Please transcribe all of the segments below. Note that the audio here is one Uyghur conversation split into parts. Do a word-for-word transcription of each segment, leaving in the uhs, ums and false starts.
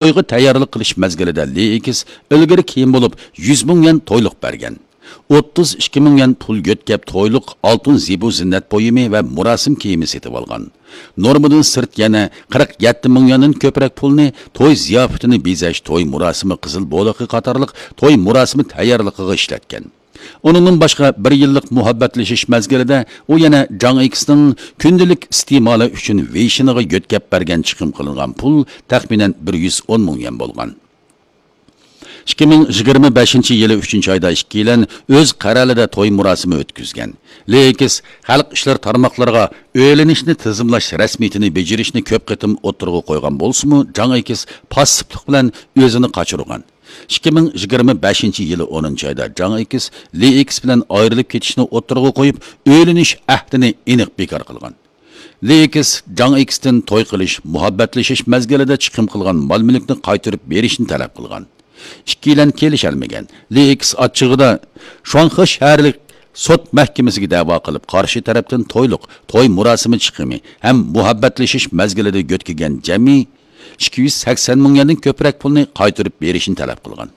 تويغا تەييارلىق قىلىش مەزگىلىدە لېئېكس ئىلگىرى كېيىن بولۇپ يۈز مىڭ يۈەن تويلۇق بەرگەن. ئوتتۇز ئىككى مىڭ يۈەن پۇل يۆتكەپ تويلۇق ئالتۇن زىبۇ زىننەت بۇيۇمى ۋە مۇراسىم كىيىمى سېتىۋالغان. نورمىدىن سىرت يەنە قىرىق يەتتە مىڭ يۈەندىن كۆپرەك پۇلنى توي زىياپىتىنى بېزەش، توي مۇراسىمى قىزىل بولىقى قاتارلىق توي مۇراسىمى تەييارلىقىغا ئىشلەتكەن. ئۇنىڭدىن باشقا، بىر يىللىق مۇھەببەتلىشىش مەزگىلىدە ئۇ يەنە جاڭ ئېكسنىڭ كۈندىلىك ئىستېمالى ئۈچۈن ۋېيشىنىغا يۆتكەپ بەرگەن چىقىم قىلىنغان پۇل تەخمىنەن بىر يۈز ئون مىڭ يۈەن بولغان. ئىككى مىڭ يىگىرمە بەشىنچى يىلى ئۈچىنچى ئايدا ئىككىيلەن ئۆز قەرەلىدە توي مۇراسىمى ئۆتكۈزگەن. لېئېكس خەلق ئىشلىرى تارماقلىرىغا ئۆيلىنىشنى تىزىملاش رەسمىيىتىنى بېجىرىشنى كۆپ قېتىم ئوتتۇرىغا قويغان بولسىمۇ، جاڭ ئېكس پاسسىپلىق بىلەن ئۆزىنى قاچۇرغان. ئىككى مىڭ يىگىرمە بەشىنچى يىلى ئونىنچى ئايدا جاڭ ئېكس لېئېكس بىلەن ئايرىلىپ كېتىشنى ئوتتۇرىغا قويۇپ، ئۆيلىنىش ئەھدىنى ئېنىق بىكار قىلغان. لېئېكس جاڭ ئېكستىن توي قىلىش، مۇھەببەتلىشىش مەزگىلىدە چىقىم قىلغان مال-مۈلۈكنى قايتۇرۇپ بېرىشنى تەلەپ قىلغان. ئىككىيلەن كېلىشەلمىگەن. لېئېكس ئاچچىقىدا شۇاڭخې شەھەرلىك سوت مەھكىمىسىگە دەۋا قىلىپ، قارشى تەرەپتىن تويلۇق، توي مۇراسىمى چىقىمى ھەم مۇھەببەتلىشىش مەزگىلىدە يۆتكىگەن جەمئىي ئىككى يۈز سەكسەن مىڭ يۈەندىن كۆپرەك پۇلنى قايتۇرۇپ بېرىشنى تەلەپ قىلغان.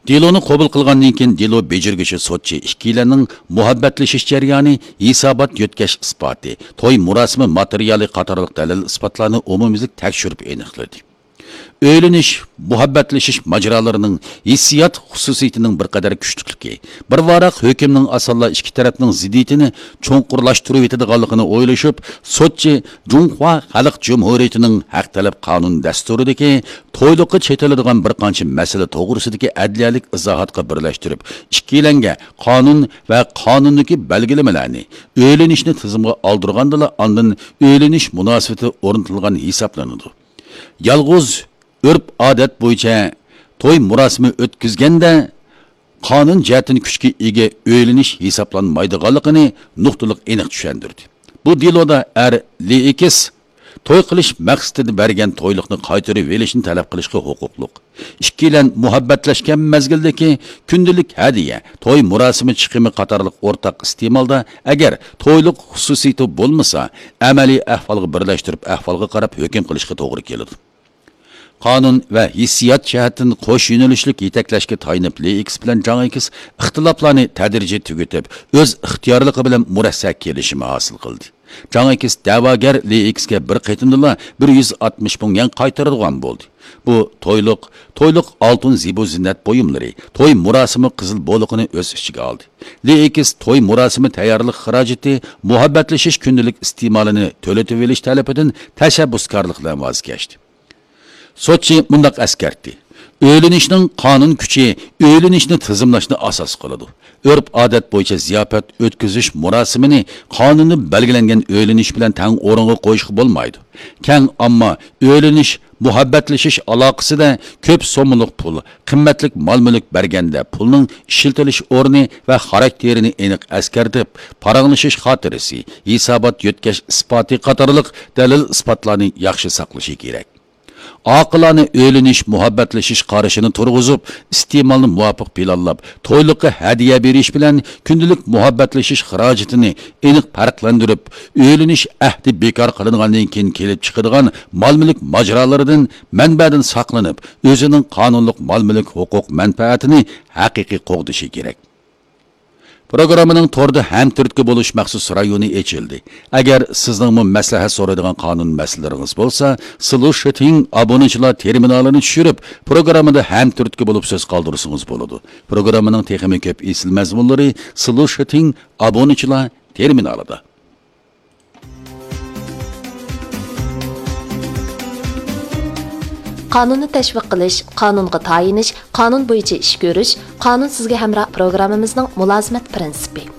دېلونى قوبۇل قىلغاندىن كېيىن، دېلو بېجىرگۈچى سوتچى ئىككىيلەننىڭ مۇھەببەتلىشىش جەريانى، ھېسابات يۆتكەش ئىسپاتى، توي مۇراسىمى ماتېرىيالى قاتارلىق دەلىل-ئىسپاتلارنى ئومۇميۈزلۈك تەكشۈرۈپ ئېنىقلىدى. ئۆيلىنىش، مۇھەببەتلىشىش ماجىرالىرىنىڭ ھېسسىيات خۇسۇسىيىتىنىڭ بىر قەدەر كۈچلۈكلۈكى، بىر ۋاراق ھۆكۈمنىڭ ئاسانلا ئىككى تەرەپنىڭ زىددىيىتىنى چوڭقۇرلاشتۇرۇۋېتىدىغانلىقىنى ئويلىشىپ، سوتچى جۇڭخۇا خەلق جۇمھۇرىيىتىنىڭ ھەق تەلەپ قانۇن دەستۇرىدىكى تويلۇققا چېتىلىدىغان بىر قانچە مەسىلە توغرىسىدىكى ئەدلىيەلىك ئىزاھاتقا بىرلەشتۈرۈپ، ئىككىيلەنگە قانۇن ۋە قانۇندىكى بەلگىلىمىلەرنى، ئۆيلىنىشنى تىزىمغا ئالدۇرغاندىلا، ئاندىن ئۆيلىنىش مۇناسىۋىتى ئورنىتىلغان ھېسابلىنىدۇ. يالغۇز ئۆرپ-ئادەت بويىچە توي مۇراسىمى ئۆتكۈزگەندە، قانۇن جەھەتتىن كۈچكە ئىگە ئۆيلىنىش ھېسابلانمايدىغانلىقىنى نۇقتىلىق ئېنىق چۈشەندۈردى. بۇ دېلودا ئەر لېئېكس توي قىلىش مەقسىتىدە بەرگەن تويلۇقنى قايتۇرۇۋېلىشنى تەلەپ قىلىشقا ھوقۇقلۇق. ئىككىيلەن مۇھەببەتلەشكەن مەزگىلدىكى كۈندىلىك ھەدىيە، توي مۇراسىمى چىقىمى قاتارلىق ئورتاق ئىستېمالدا، ئەگەر تويلۇق خۇسۇسىيىتى بولمىسا، ئەمەلىي ئەھۋالغا بىرلەشتۈرۈپ، ئەھۋالغا قاراپ ھۆكۈم قىلىشقا توغرا كېلىدۇ. قانۇن ۋە ھېسسىيات جەھەتتىن قوش يۆنىلىشلىك يېتەكلەشكە تايىنىپ، لېئېكس بىلەن جاڭ ئېكس ئىختىلاپلارنى تەدرىجىي تۈگىتىپ، ئۆز ئىختىيارلىقى بىلەن مۇرەسسە كېلىشىمى ھاسىل قىلدى. جاڭ ئېكس دەۋاگەر لېئېكسكە بىر قېتىمدىلا بىر يۈز ئاتمىش مىڭ يۈەن قايتۇرىدىغان بولدى. بۇ تويلۇق، تويلۇق ئالتۇن زىبۇ زىننەت بۇيۇملىرى، توي مۇراسىمى قىزىل بولىقىنى ئۆز ئىچىگە ئالدى. لېئېكس توي مۇراسىمى تەييارلىق خىراجىتى، مۇھەببەتلىشىش كۈندىلىك ئىستېمالىنى تۆلىتىۋېلىش تەلىپىدىن تەشەببۇسكارلىق بىلەن ۋاز كەچتى. سوتچى مۇنداق ئەسكەرتتى: ئۆيلىنىشنىڭ قانۇن كۈچى ئۆيلىنىشنى تىزىملاشنى ئاساس قىلىدۇ. ئۆرپ-ئادەت بويىچە زىياپەت ئۆتكۈزۈش مۇراسىمىنى قانۇندا بەلگىلەنگەن ئۆيلىنىش بىلەن تەڭ ئورۇنغا قويۇشقا بولمايدۇ. كەڭ ئامما ئۆيلىنىش، مۇھەببەتلىشىش ئالاقىسىدە كۆپ سوممىلىق پۇل، قىممەتلىك مال-مۈلۈك بەرگەندە، پۇلنىڭ ئىشلىتىلىش ئورنى ۋە خاراكتېرىنى ئېنىق ئەسكەرتىپ، پاراڭلىشىش خاتىرىسى، ھېسابات يۆتكەش ئىسپاتى قاتارلىق دەلىل-ئىسپاتلارنى ياخشى ساقلىشى كېرەك. ئاقىلانە ئۆيلىنىش، مۇھەببەتلىشىش قارىشىنى تۇرغۇزۇپ، ئىستېمالنى مۇۋاپىق پىلانلاپ، تويلۇققا ھەدىيە بېرىش بىلەن كۈندىلىك مۇھەببەتلىشىش خىراجىتىنى ئېنىق پەرقلەندۈرۈپ، ئۆيلىنىش ئەھدى بىكار قىلىنغاندىن كېيىن كېلىپ چىقىدىغان مال-مۈلۈك ماجىرالىرىدىن، مەنبەدىن ساقلىنىپ، ئۆزىنىڭ قانۇنلۇق مال-مۈلۈك ھوقۇق مەنپەئەتىنى ھەقىقىي قوغدىشى كېرەك. پروگراممىنىڭ توردا ھەمتۈرتكە بولۇش مەخسۇس رايونى ئېچىلدى. ئەگەر سىزنىڭمۇ مەسلىھەت سورايدىغان قانۇن مەسىلىلىرىڭىز بولسا، سلۇشىتىڭ ئابۇنىچىلار تېرمىنالىنى چۈشۈرۈپ، پروگراممىدا ھەمتۈرتكە بولۇپ سۆز قالدۇرسىڭىز بولىدۇ. پروگراممىنىڭ تېخىمۇ كۆپ ئېسىل مەزمۇنلىرى سلۇشىتىڭ ئابۇنىچىلار تېرمىنالىدا. قانۇننى تەشۋىق قىلىش، قانۇنغا تايىنىش، قانۇن بويىچە ئىش كۆرۈش، قانۇن سىزگە ھەمراھ پروگراممىمىزنىڭ مۇلازىمەت پىرىنسىپى.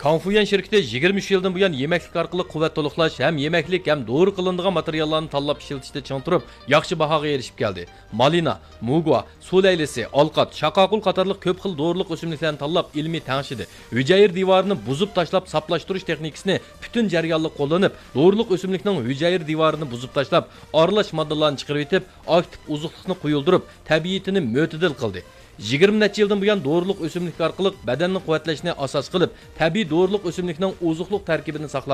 كاڭفۇيۈەن شىركىتى يىگىرمە ئۈچ يىلدىن بۇيان يېمەكلىك ئارقىلىق قۇۋۋەت تولۇقلاش ھەم يېمەكلىك ھەم دورا قىلىنىدىغان ماتېرىياللارنى تاللاپ ئىشلىتىشتە چىڭ تۇرۇپ، ياخشى باھاغا ئېرىشىپ كەلدى. مالىنا، مۇگۋا، سۇ لەيلىسى، ئالقات، شاقاقۇل قاتارلىق كۆپ خىل دورىلىق ئۆسۈملۈكلەرنى تاللاپ، ئىلمىي تەڭشىدى. ھۈجەيرە دىۋارىنى بۇزۇپ تاشلاپ ساپلاشتۇرۇش تېخنىكىسىنى پۈتۈن جەريانلىق قوللىنىپ، دورىلىق ئۆسۈملۈكنىڭ ھۈجەيرە دىۋارىنى بۇزۇپ تاشلاپ، ئارىلاش ماددىلارنى چىقىرىۋېتىپ، ئاكتىپ ئوزۇقلۇقنى قويۇلدۇرۇپ، تەبىئىتىنى مۆتىدىل قىلدى. يىگىرمە نەچچە يىلدىن بۇيان دورىلىق ئۆسۈملۈك ئارقىلىق بەدەننى قۇۋۋەتلەشنى ئاساس قىلىپ، تەبىئىي دورىلىق ئۆسۈملۈكنىڭ ئوزۇقلۇق تەركىبىنى ساقلاپ